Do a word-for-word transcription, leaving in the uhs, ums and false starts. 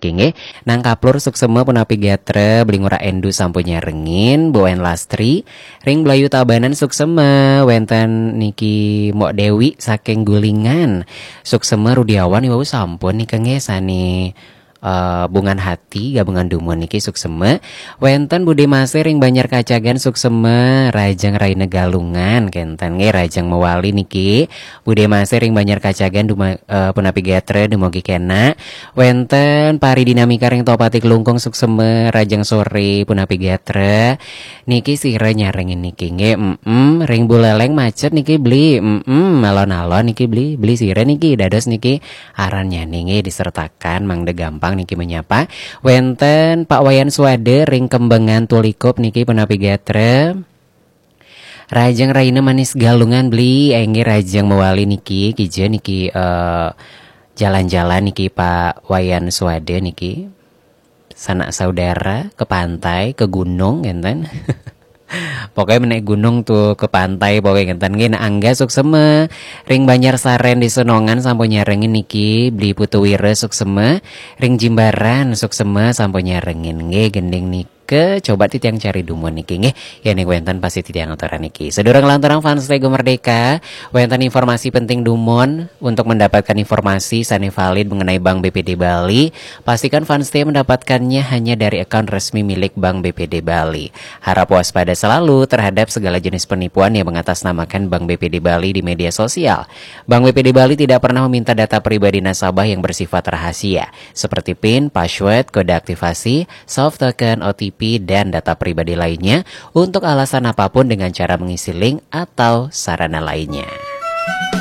Inggih, nang kaplur suksema punapi gatra, Beli Ngurah Endu sampun nyarengin, Bu Wayan Lastri, ring Blayu Tabanan suksema, wenten niki Mok Dewi saking Gulingan, suksema Rudiawan iwau sampun nika nggih sane eh, Bungan Hati, gabungan dumun niki suksema, wenten Bude Masih ring Banjar Kacagan suksema, Rajeng Raina Galungan, kenten nggih Rajeng Mawali niki, Bude Masih ring Banjar Kacagan duma, eh, punapi gatra dumugi kena. Wenten Pari Dinamika ring Tohpati Klungkung suksema, Rajeng Sore punapi gatra. Niki sira nyarengin niki nggih, mm, ring Buleleng macet niki Beli, mm, alon-alon niki Beli, Beli sira niki dados niki arannya nggih disertakan mangda gampang niki menyapa. Wenten Pak Wayan Suwada ring Kembengan Tulikup niki punapi gatra. Rajeng Raina Manis Galungan Beli, enggih Rajeng Mawali niki, kija niki, eh, jalan-jalan niki Pak Wayan Suwada niki. Sanak saudara ke pantai, ke gunung, ngenten. Pokoknya menaik gunung tuh ke pantai, pokoknya ngenten. Nggih, Nak Angga suksema, ring Banjar Saren di Senongan sampun nyarengin niki, Beli Putu Wira suksema, ring Jimbaran suksema sampun nyarengin. Nggih, gending niki, coba titiang cari dumun niki, nggih. Ya ning wenten pasti titiang aturan niki. Sedurung lanturang fans Tego Merdeka, wenten informasi penting dumun. Untuk mendapatkan informasi sane valid mengenai Bank B P D Bali, pastikan fans setia mendapatkannya hanya dari akun resmi milik Bank B P D Bali. Harap waspada selalu terhadap segala jenis penipuan yang mengatasnamakan Bank B P D Bali di media sosial. Bank B P D Bali tidak pernah meminta data pribadi nasabah yang bersifat rahasia, seperti pin, password, kode aktivasi, soft token, O T P, dan data pribadi lainnya untuk alasan apapun dengan cara mengisi link atau sarana lainnya.